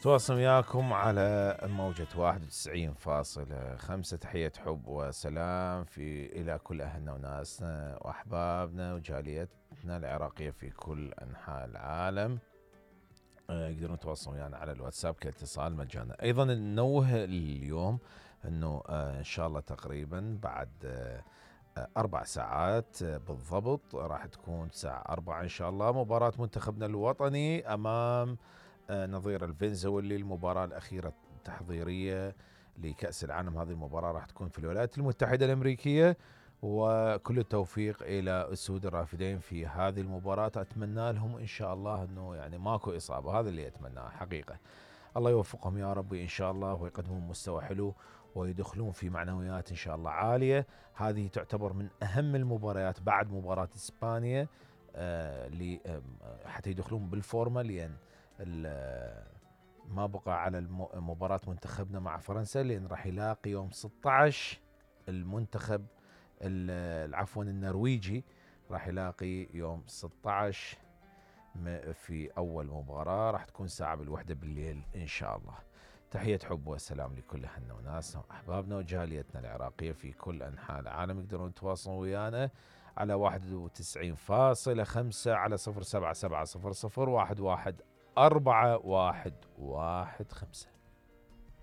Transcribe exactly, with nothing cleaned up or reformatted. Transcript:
نتواصل وياكم على موجة واحد وتسعين فاصلة خمسة. تحية حب وسلام في إلى كل أهلنا وناسنا وأحبابنا وجاليتنا العراقية في كل أنحاء العالم. يقدرون يتواصلون ويانا على الواتساب كاتصال مجانا. أيضا ننوه اليوم أنه إن شاء الله تقريبا بعد أربع ساعات بالضبط راح تكون الساعة أربعة إن شاء الله مباراة منتخبنا الوطني أمام نظير الفنزويلي. المباراة الأخيرة التحضيرية لكأس العالم. هذه المباراة راح تكون في الولايات المتحدة الأمريكية، وكل التوفيق إلى أسود الرافدين في هذه المباراة. أتمنى لهم إن شاء الله أنه يعني ماكو إصابة، هذا اللي أتمناه حقيقة. الله يوفقهم يا رب إن شاء الله ويقدمون مستوى حلو ويدخلون في معنويات إن شاء الله عالية. هذه تعتبر من أهم المباريات بعد مباراة إسبانيا آه حتى يدخلون بالفورمة، لأن ما بقى على مباراة منتخبنا مع فرنسا، لأن راح يلاقي يوم ستة عشر المنتخب العفوا النرويجي، راح يلاقي يوم ستة عشر في أول مباراة راح تكون ساعة بالوحدة بالليل إن شاء الله. تحية حب وسلام لكل أهلنا وناسنا وأحبابنا وجاليتنا العراقية في كل أنحاء العالم. يقدرون يتواصلون ويانا على واحد وتسعين فاصلة خمسة على صفر سبعة سبعة صفر صفر واحد واحد أربعة واحد واحد خمسة.